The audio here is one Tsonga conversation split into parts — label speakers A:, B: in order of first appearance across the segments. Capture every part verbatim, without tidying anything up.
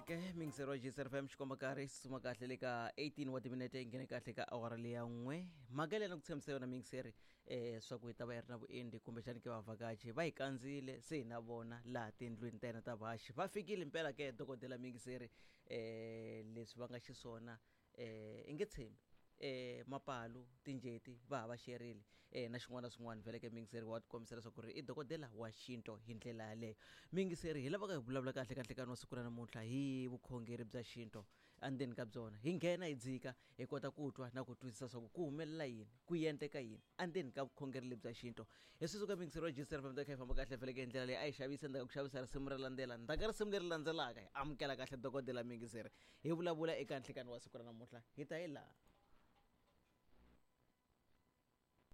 A: Ke mingisero wa G S R F M xikomba karhi xi tsutsuma kahle le ka eighteen wa timinete, yi nghene kahle ka awara leya n'we. Mhaka leyi na ku tshembisa yona mingiseri um swa ku hi ta va hi ri na vuendi kumbexani ke vavhakachi va hi kandzile, se hi na vona laha tindlwini ta hina ta vaxi va fikile mpela ke dokodela mingiseri. um leswi va nga xiswona um i nge tshembi eh mapalu tinjeti va ha va xerile eh na xin'wana na swin'wana. Vhele ke mingiseri wa tikombisa leswaku ri i dokodela wa xinto. Hi ndlela yaleyo mingiseri hi lavaka hi vulavula kahle kahle ka wa siku ra namuntlha hi vukhongeri bya xinto. Endzeni ka byona hi nghena hi dzika hi kota ku twa na ku twisisa swa ku ku humelela yini, ku endleka yini endzeni ka vukhongeri lebyi bya xinto. Hi sweswi ka mingiseri wa G S R F M ta kha hi famba kahle vhele ke hi ndlela leyi a hi xavisa. Ndzhaku ku xavisa risimu ra landzela, ndzhaku ka risimu leri landzelaka hi amukela kahle dokodela mingiseri, hi vulavula eka nhlikani wa siku ra namuntlha. Hi ta hi laha.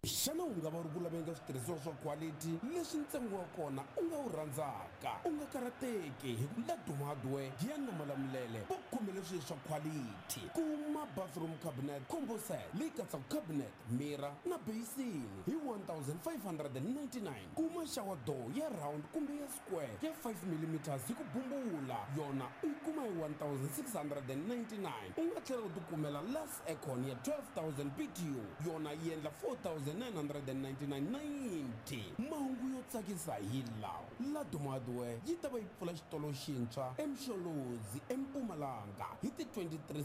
B: Xana u nga va u ri ku laveni ka switirhisiwa swa quality leswi ntsengo wa kona u nga wu rhandzaka? U nga karhateki, hi ku Laduma Hardware Giyani na Malamulele va khomele swilo swa quality. Kuma bathroom cabinet combo set leyi katsaka cabinet, mirror na basin hi one thousand five hundred ninety-nine. Kuma shower door ya round kumbe ya square ya five millimeters hi ku bumbula, yona u yi kuma hi one thousand six hundred ninety-nine. U nga tlhela u tikumela glass aircon ya twelve thousand B T U, yona yi endla four thousand nine hundred ninety-nine ninety. Mahungu yo tsakisa hi lawa: Laduma Hardware yi ta va yi pfula xitolo xintshwa eMsholozi eMpumalanga hi ti twenty-three.